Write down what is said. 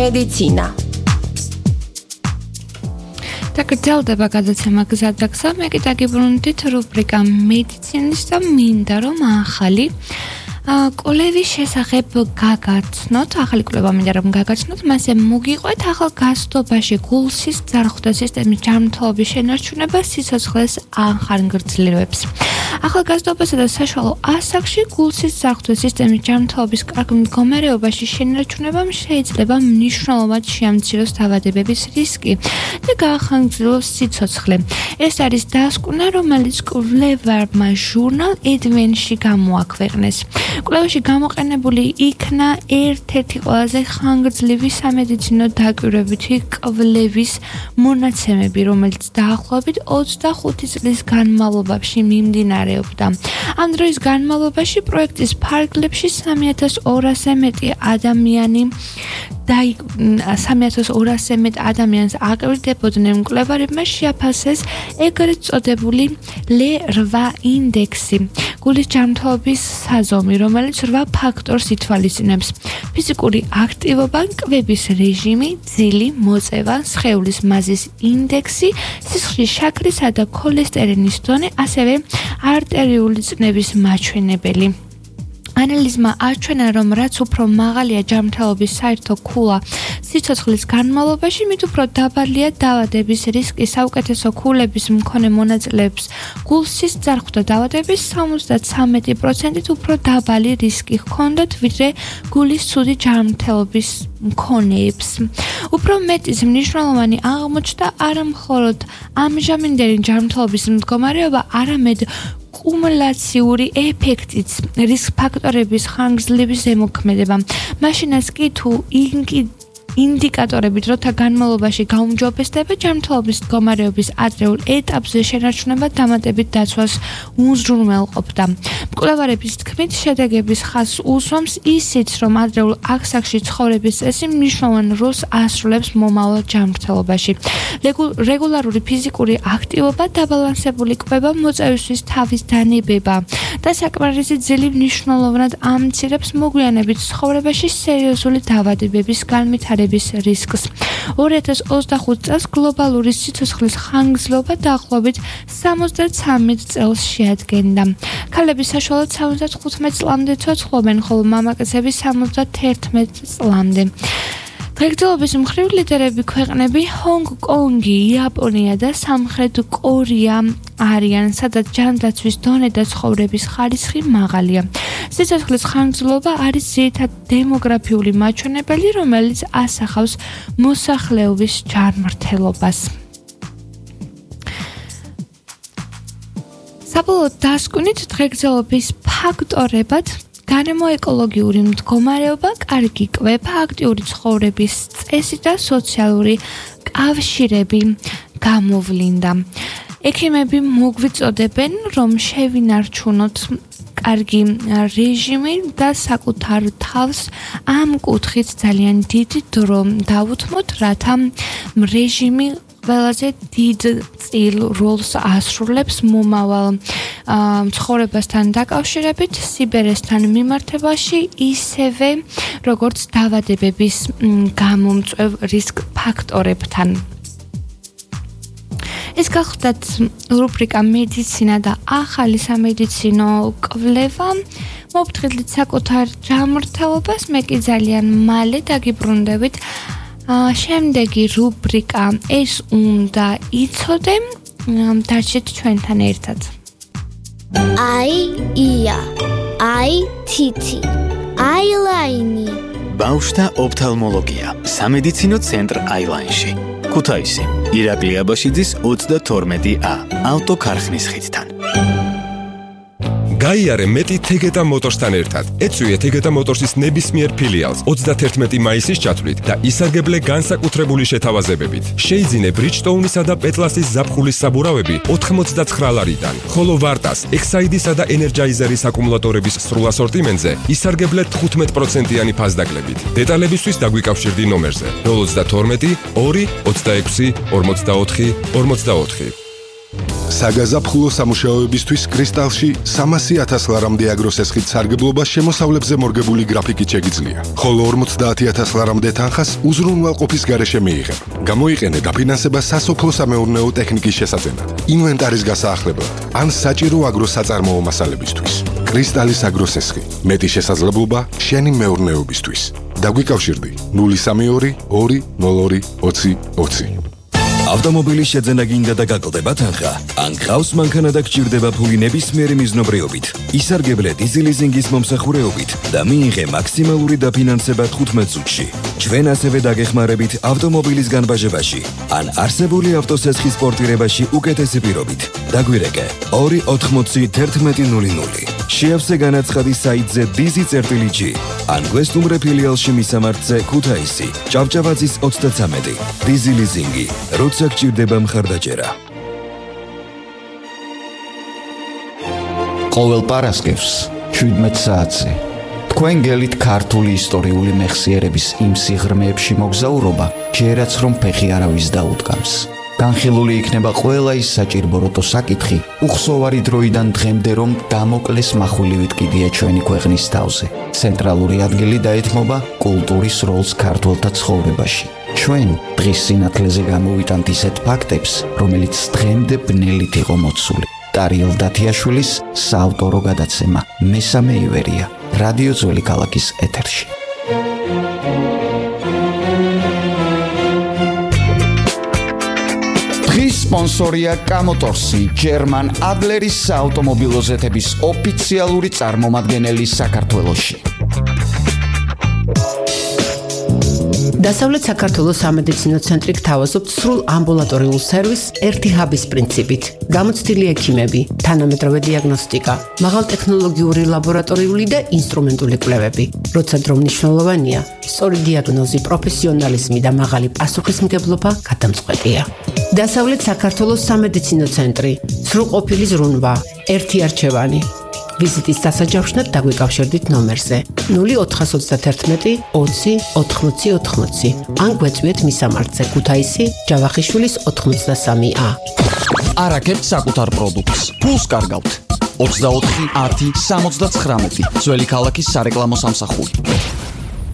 მედიცინა. დაგრძელდება გადაცემა გზადაგზა, მე კი დაგიბრუნდით რუბრიკა მედიცინის და მინდა რომ ახალი კვლევის შესახებ გაგაცნოთ, ახალი კვლევა მინდა რომ გაგაცნოთ, მასე მოგიყვეთ ახალგაზრდობაში გულსის ძარღვთა სისტემის ჯანმრთელობის შენარჩუნება სიცოცხლეს ახანგრძლივებს. ახალგაზრდობასა და საშუალო ასაკში გულსის ძარღვთა სისტემის ჯანმრთელობის კარგ მდგომარეობაში შენარჩუნებამ შეიძლება მნიშვნელოვნად შეამციროს დაავადებების რისკი და გაახანგრძლოს სიცოცხლე. ეს არის დასკვნა, რომელიც კვლევარმა ჟურნალ Adventure გამოაქვეყნეს. კვლევაში გამოყენებული იქნა ერთ-ერთი ყველაზე ხანგრძლივი სამედიცინო დაკვირვებითი კვლევის მონაცემები, რომელიც დაახლოებით 25 წლის განმავლობაში მიმდინარეობდა. ამ დროის განმავლობაში პროექტის ფარგლებში 3200-ზე მეტი ადამიანს აკრიტიკებოდნენ. მკვლევარებმა შეაფასეს ეგრეთ წოდებული L8 ინდექსი, გულის ჯანმრთელობის საზომი, რომელიც 8 ფაქტორს ითვალისწინებს: ფიზიკური აქტივობა, კვების რეჟიმი, ძილი, მოწევა, სხეულის მაზის ინდექსი, სისხლის შაქრისა და ქოლესტერინის დონე, ასევე არტერიული წნევის მაჩვენებელი. ანალიზმა აჩვენა, რომ რაც უფრო მაღალია ჯანმრთელობის საერთო ქულა სიცოცხლის განმავლობაში, მით უფრო დაბალია დაავადების რისკი. საუკეთესო ქულების მქონე მონაწილეებს გულსის ძარღვთა დაავადების 73%-ით უფრო დაბალი რისკი ჰქონდათ, ვიდრე გულის ცუდი ჯანმრთელობის მქონეებს. უფრო მეტის მნიშვნელოვანი აღმოჩნდა არა მხოლოდ ამჟამინდელი ჯანმრთელობის მდგომარეობა, არამედ კუმულაციური ეფექტიც, რისკ ფაქტორების ხანგრძლივი ზემოქმედება. მაშინაც კი თუ ინდიკატორები დროთა განმავლობაში გაუმჯობესდება, ჯანმრთელობის მდგომარეობის ადრეულ ეტაპზე შენარჩუნება დამატებით დაცვას უზრუნველყოფდა. მკვლევარების თქმით, შედეგების ხაზს უსვამს ისიც, რომ ადრეულ ასაკში ცხოვრების წესი მნიშვნელოვან როლს ასრულებს მომავალ ჯანმრთელობაში. რეგულარული ფიზიკური აქტივობა, დაბალანსებული კვება, მოწევისთვის თავის დანებება და საკმარისი ძილი მნიშვნელოვნად ამცირებს მოგვიანებით ცხოვრებაში სერიოზული დაავადებების განვითარებას რისკს. 2025 წელს გლობალური სიცოცხლის ხანგრძლივობა დაახლოებით 73 წელს შეადგენდა. ქალები საშუალოდ 75 წლამდე ცოცხლობენ, ხოლო მამაკაცები 71 წლამდე. დღეგრძელობის მხრივ ლიდერები ქვეყნები ჰონგ-კონგი, იაპონია და სამხრეთ კორეა არიან, სადაც ჯანდაცვის დონე და ცხოვრების ხარისხი მაღალია. სიცოცხლის ხანგრძლივობა არის ძირითადი დემოგრაფიული მაჩვენებელი, რომელიც ასახავს მოსახლეობის ჯანმრთელობას. საბოლოოდ დასკვნით, დღეგრძელობის ფაქტორებად გარემოეკოლოგიური მდგომარეობა, კარგი კვება, აქტიური ცხოვრების წესი და სოციალური კავშირები გამოვლინდა. ექიმები მოგვიწოდებენ, რომ შევინარჩუნოთ კარგი რეჟიმი და საკუთარ თავს ამ კუთხით ძალიან დიდ დრო დავუთმოთ, რათა რეჟიმი ყველაზე დიდ წილ როლს ასრულებს მომავალ ცხოვრებასთან დაკავშირებით, სიბერესთან მიმართებაში, ისევე როგორც დაავადებების გამომწვევ რისკ ფაქტორებთან. ეს გახლდათ რუბრიკა მედიცინა და ახალი სამედიცინო კვლევა. მოვფრთხილდით საკუთარ ჯანმრთელობას, მე კი ძალიან მალე დაგიბრუნდებით. შემდეგი რუბრიკა ეს უნდა იცოდე, დარჩეთ ჩვენთან ერთად. ია, თითი, აილაინი. ბავშვთა ოფთალმოლოგია, სამედიცინო ცენტრ აილაინში. ქუთაისი, ირაკლი აბაშიძის 32A, ავტოქარხნის ხიდთან. გაიარე მეტი თეგეტა მოტორსთან ერთად. ეწვიე თეგეტა მოტორსის ნებისმიერ ფილიალს 31 მაისის ჩათვლით და ისარგებლე განსაკუთრებული შეთავაზებებით. შეიძინე ბრიჯტოუნისა და პეტლასის ზაფხულის საბურავები 89 ლარიდან, ხოლო ვარტას, ექსაიდისა და ენერჯაიზერის აკუმულატორების სრულ ასორტიმენტზე ისარგებლე 15%-იანი ფასდაკლებით. დეტალებისთვის დაგვიკავშირდი ნომერზე 032 2 26 44 44. საგაზაფხულო სამუშაოებისთვის კრისტალში 300,000 ლარამდე აგროსესხით სარგებლობა შემოსავლებზე მორგებული გრაფიკით შეგიძლია. ხოლო 50,000 ლარამდე თანხას უზრუნველყოფის გარეშე მიიღებ. გამოიყენე დაფინანსება სასოფლო-სამეურნეო ტექნიკის შესაძენად, ინვენტარის გასაახლებლად ან საჭირო აგროსაწარმოო მასალებისთვის. კრისტალის აგროსესხი. მეტი შესაძლებლობა შენი მეურნეობისთვის. დაგვიკავშირდი 032 202 20 20. ავტომობილის შეძენა გინდა და გაკლდება თანხა? ან გყავს მანქანა და გჭირდება ფული ნებისმიერი მიზნობრიობით, ისარგებლე დიზელიზინგის მომსახურეობით და მიიღე მაქსიმალური დაფინანსება 15 წუთში. ჩვენ ასევე დაგეხმარებით ავტომობილის განბაჟებაში ან არსებული ავტოსესხის პორტირებაში უკეთესი პირობით. დაგვირეკე 2801100. შეავსე განაცხადი საიტზე dizi.g ან გვესტუმრე ფილიალში მისამართზე ქუთაისი, ჭავჭავაძის 33. დიზელიზინგი. როცა გჭირდება მხარდაჭერა. ყოველ პარასკევს 17 საათზე თქვენ გელით ქართული ისტორიული მეხსიერების იმ სიღრმეებში მოგზაურობა, ჯერაც რომ ფეხი არავის დაუდგამს. განხილული იქნება ყველა ის საჭირბოროტო საკითხი, უხსოვარი დროიდან დღემდე რომ დამოკლეს מחვილივით კიდია ჩვენი ქვეყნის თავზე. ცენტრალური ადგილი დაეთმობა კულტურის როლს ქართველთა ცხოვრებაში. ჩვენ დღის სინათლეზე გამოვიტანთ ისეთ ფაქტებს, რომელიც დღემდე ბნელით იყო მოცული. ტარიელ დათიაშვილის საავტორო გადაცემა მესამე ივერია, რადიო ძველი ქალაქის ეთერში. დღის სპონსორია კამოტორსი, ჯერმან ადლერის საავტომობილო ზეთების ოფიციალური წარმომადგენელი საქართველოში. დასავლეთ საქართველოს სამედიცინო ცენტრი გთავაზობთ სრულ ამბულატორიულ სერვისს ერთი ჰაბის პრინციპით. გამოცდილი ექიმები, თანამედროვე დიაგნოსტიკა, მაღალტექნოლოგიური ლაბორატორიული და ინსტრუმენტული კვლევები. როცა დრო მნიშვნელოვანია, სწორი დიაგნოზი, პროფესიონალიზმი და მაღალი პასუხისმგებლობა გადამწყვეტია. დასავლეთ საქართველოს სამედიცინო ცენტრი, სრულყოფილი ზრუნვა, ერთი არჩევანი. ვიზიტის დასაჯავშნად დაგვიკავშირდით ნომერზე 0431 20 80 80 ან გვეწვიეთ მისამართზე ქუთაისი, ჯავახიშვილის 83A. არაკეთთ საკუთარ პროდუქტს. ფულს კარგავთ. 24 10 79 ძველი ქალაქის სარეკლამო სამსახური.